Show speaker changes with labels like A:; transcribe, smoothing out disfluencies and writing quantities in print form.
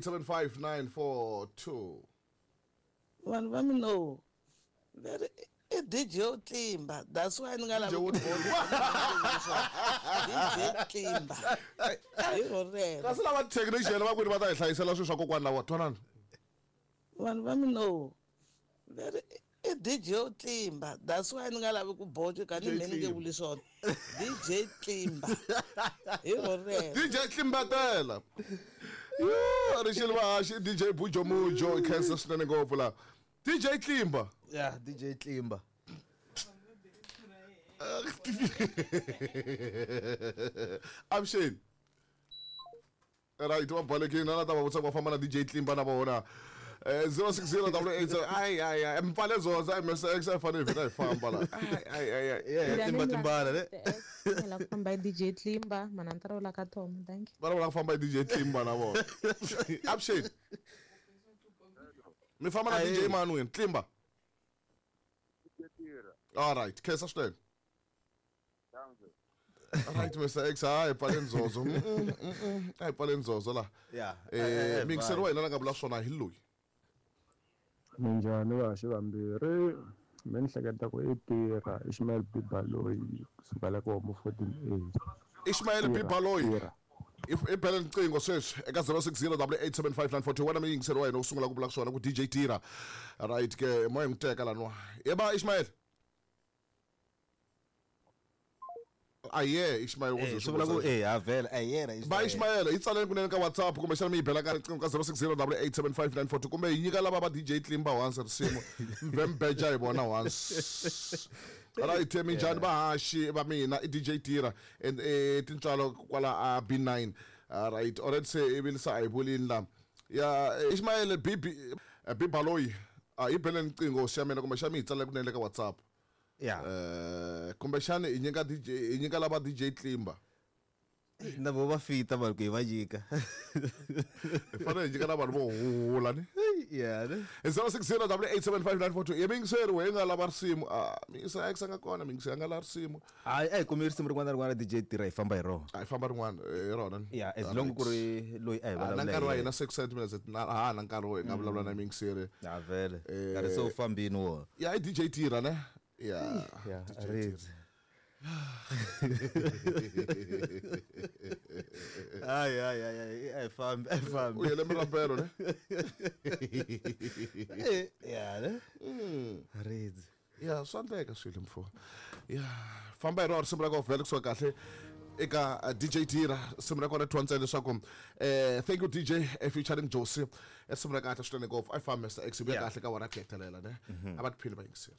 A: 875 942.
B: Vanhu va mina va ri i DJ wo tlimba, that's why ni nga lavi ku DJ tlimba hi ro rero.
A: Kasi lava technician va kwini va ta hi hlayisela swilo swa kokwana lava twanani.
B: Vanhu va mina va ri i DJ wo tlimba, that's why ni nga lavi ku boxa ka ni me ni nge vuli swona. DJ tlimba hi ro rero.
A: DJ tlimbatela. Yo, rixile vahaxi DJ Bujo Mujo khensa swinene ngopfu la. DJ Tlimba.
C: Yeah, DJ Tlimba.
A: Avuxeni. Right, va balekile na ta va vutisa ku va famba na DJ Tlimba na vona. 060 8 ai ai ai mpfale zoza MSX a fanele hi vhela hi famba la. Ai ai ai ai.
C: Yeah, Tlimba timbala le.
D: La ku famba hi DJ Tlimba, mana ni ta ri ka Tom, thank you.
A: Va lava ku famba hi DJ Tlimba na vona. Avuxeni. Mi famba na DJ mani wena? Tlimba. All right, khensa swinene. Right, Mr. X, hayi pfale nzozo. A hi pfale nzozo la.
C: Yeah.
A: Mixer wa hina la nga vula swona hi loyi.
E: Minjhani vahaxi vambirhi? Me ni hleketa ku i tirha Ishmael B Baloyi kusuka la ka homo 14A.
A: Ishmael B Baloyi. I bele riqingho sweswi eka 060 875 wena mi yingiseri wa hina u sungula ku vula swona ku DJ Tira. Right ke moya n'wi teka laniwa. Yeba Ishmael. Aye Ishmael
C: u swi vula ku eh ha vhela ayena
A: Ba Ishmael yi tsaleni kunene ka WhatsApp kumbexana mi yi bela ka riqingho ka 060 875 kumbe yi nyika lava va DJ Tlimba once risimu mbe mbeja hi vona once. Right, minjhani vahaxi va mina i DJ Tira and tintswalo kwala a B9. Right, already se i vilisa a hi vulini la. Ya Ishmael B B Baloyi yi bele riqingho xa mina kumbexana mi yi tsalela kunene ka WhatsApp.
C: Yeah.
A: Kumbexana hi nyika DJ hi nyika lava DJ Tlimba.
C: Na vo va fita vanhu ku hi va nyika.
A: Hi fanele hi nyika na vanhu vo huhula ni.
C: Yeah.
A: 060 875 ye miyingiseri we nga lava risimu. Miyingiseri a nga kona miyingiseri a nga lava risimu.
C: Hayi a hi kumi risimu rin'wana na rin'wana DJ Tira hi famba hi rona.
A: A hi famba rin'wana hi rona ni.
C: Yeah, as long ku ri loyi a hi vulavula.
A: Na nkarhi wa hina 6 minutes na ha na nkarhi wo hi nga vulavula na miyingiseri.
C: Ya vhele. Nkarhi se wu fambini wona.
A: Ya i DJ Tira ne. Yeah.
C: Yeah, ridzi. Ai ai ai ai ai fambi ai fambi.
A: U yele mirapelo ne.
C: Ya ne. Ridzi.
A: Ya swa endleka swilo mfo. Ya famba hi rona risimu ra kona vhele kusuka kahle eka DJ Tira risimu ra kona thwa ntsena leswaku thank you DJ featuring Josie risimu ra kahle swinene ngopfu. A yi fambi Mr X vuya kahle ka wona ku hetelela ne. A va tiphini va yingiseri.